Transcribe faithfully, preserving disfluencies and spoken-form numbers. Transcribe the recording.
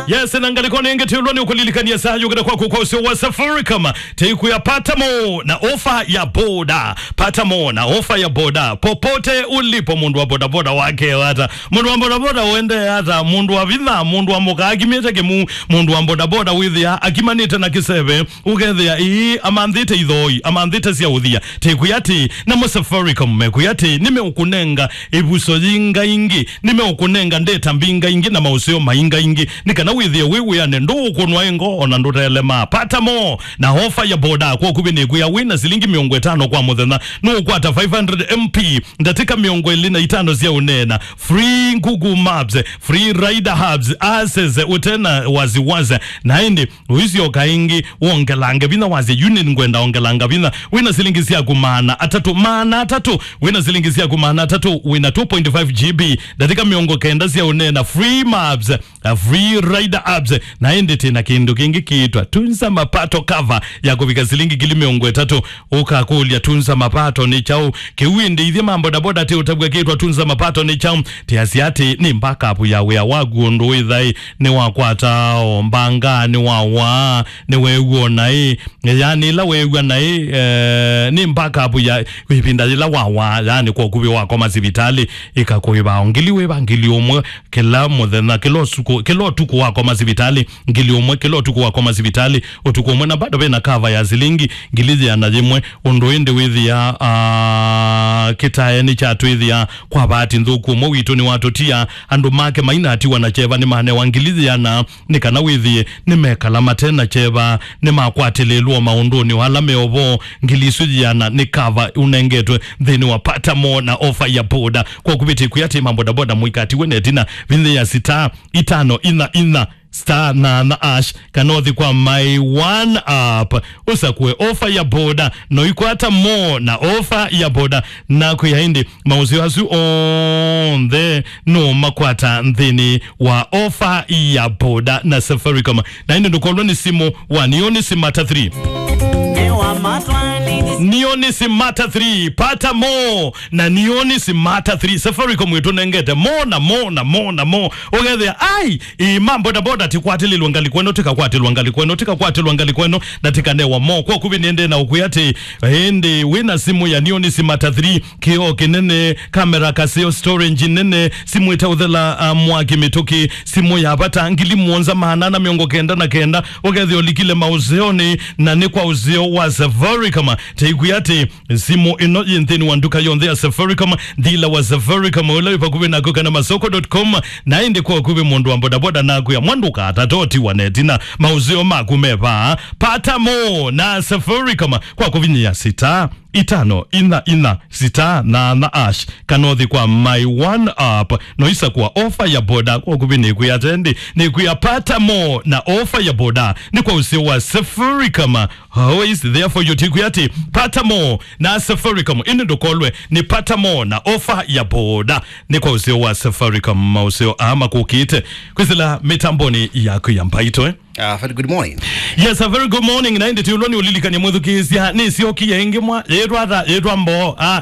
Yes, na ngalĩko nĩ ĩngĩ tĩũlwa nĩ ũkũlilikania saa yũkĩte kwaku kwa ũseo wa Safaricom. Tĩkwĩa pata mo na ofa ya boda. Pata mo na ofa ya boda. Popote ulipo, mũndũ wa bodaboda wake ata. Mũndũ wa bodaboda ũendee ata. Mũndũ wa vitha, mũndũ wa mũka akimĩte kĩmu. Mũndũ wa bodaboda wĩthĩa akimanĩte na kĩseve. Ũkethĩa ii amanthĩte ithoi, amanthĩte sya ũthia. Tĩkwĩa atĩ, namo Safaricom mekwĩa atĩ, nĩmeũkũnenga ĩvuso yingaingĩ, nĩmeũkũnenga ndeta mbingaingĩ na maũseo maingaingĩ, nĩ kana wĩthĩe wĩ wĩane, ndũũkũnwa ĩ ngoo, ona ndũtelema. Pata mo na ofa ya boda kwa ũkuvĩ nĩkwĩa wĩ na silingi mĩongo ĩtano kwa mũthenya, nũũkwata five hundred M P, ndatĩka mĩongo ĩlĩ na itano sya ũneena, free Google Maps, free Rider Hubs, access ũte na wasiwasi, na ĩndĩ ũisyoka ĩngĩ wongelange vinya wasya, yu nĩngwenda ongelanga vinya. Wĩna silingi syaku maana atatũ, maana atatũ, wĩna silingi syaku maana atatũ, wĩna two point five G B, ndatĩka mĩongo kenda sya ũneena, free Maps, uh, free Rider Hubs, na ĩndĩ tĩna kĩndũ kĩngĩ kĩĩtwa Tunza Mapato Cover ya kũvika silingi ngili mĩongo ĩtatũ. Ũkakũlya, Tunza Mapato nĩ kyaũ? Kĩu ĩndĩ ithyĩ ma bodaboda tĩũtavw'a kĩĩtwa Tunza Mapato nĩ kyaũ? Tĩasya atĩ nĩ backup ya wĩa waku ũndũ wĩthaĩ nĩwakwata o mbanga, nĩwawaa, nĩweew'a naĩ, yaani ĩla weew'a naĩ, eh, nĩ backup ya ĩvinda yĩla wawaa, yaani kwa ũkuvĩ wakoma sivitalĩ, ĩkakũĩva o ngili wĩva, ngili ũmwe kĩla mũthenya, kĩla ũtukũ, kĩla ũtukũ wakoma sivitalĩ, ngili ũmwe kĩla ũtukũ wakoma sivitalĩ, ũtukũ ũmwe, na bado vena cover ya silingi ngili yĩana yĩmwe. Ũndũ ĩndĩ wĩthĩa, ah, kĩtae nĩkyatwĩthĩa kwa vaati nthũku, ũmwe witũ nĩwatũtia, andũ make mainatiwa na kyeva nĩmanewa ngili yĩana, nĩ kana wĩthĩe nĩmekala mate na kyeva, nĩmakwatĩlĩlwo maũndũnĩ o ala me o vo. Ngili isu yĩana nĩ cover ũnengetwe nthĩnĩ wa Pata Mo na ofa ya boda. Kwa kũvĩtĩkwĩa atĩ ma bodaboda mũikatiwe na ĩtina, vinya ya sita itano inya inya star nana ash, kana ũthi kwa My One App, ũsakũe ofa ya boda, no ikwata mo na ofa ya boda, na kwĩa ĩndĩ maũseo asu onthe no makwata nthĩnĩ wa ofa ya boda na Safaricom. Na ĩndĩ ndũkolwe nĩ simũ wa Neon Smart three. Neon Smart three, pata mo na Neon Smart three. Safaricom ĩtũnengete mo na mo na mo na mo. Ũkethĩa, ai, ĩ, ma bodaboda tikwatĩlĩlwa ngalĩko ĩno, tikakwatĩlwa ngalĩko ĩno, tikakwatĩlwa ngalĩko ĩno, na tikanewa mo. Kwa kũvĩ nĩndĩ na ũkwĩa atĩ, ĩndĩ wĩna simũ ya Neon Smart three, kĩoo kĩnene, kamera kaseo, storage nene, simũ ĩtaũthela, ah, mwaki mĩtũkĩ, simũ ya vata, ngili mũonza maana na mĩongo kenda na kenda, ũkethĩa ũlikile maũseonĩ, na nĩ kwa ũseo wa Safaricom. Taikwĩa atĩ, simũ ĩno yĩ nthĩnĩ wa nduka yonthe ya Safaricom, dealer wa Safaricom ũla wĩ vakuvĩ naku, kana masoko dot com, na ĩndĩ kwa ũkuvĩ mũndũ wa bodaboda nakwĩa, mwa ndũkatate ũtiwa na ĩtina, maũseo maku me vaa. Pata mo na Safaricom kwa kũvinyĩa sita itano inya inya sita nana ash, kana ũthi kwa My One App, no isakũa ofa ya boda kwa ũkuvĩ nĩkwĩa atendi, nĩkwĩa pata mo na ofa ya boda, nĩ kwa ũseo wa Safaricom. Always there for you. Taikwĩa atĩ pata mo na Safaricom, ĩndĩ ndũkolwe nĩ pata mo na ofa ya boda, nĩ kwa ũseo wa Safaricom, maũseo aa makũkĩte kwĩsĩla mĩtambonĩ yaku ya Mbaitũ, eh? Ah, very good morning. Yes, a very good morning. Na ĩndĩ tĩũlwa nĩ ũlilikania mwĩthukĩĩsya, nĩsyokie ĩngĩ mwa, yĩtwa ata, yĩtwa mboo. Ah,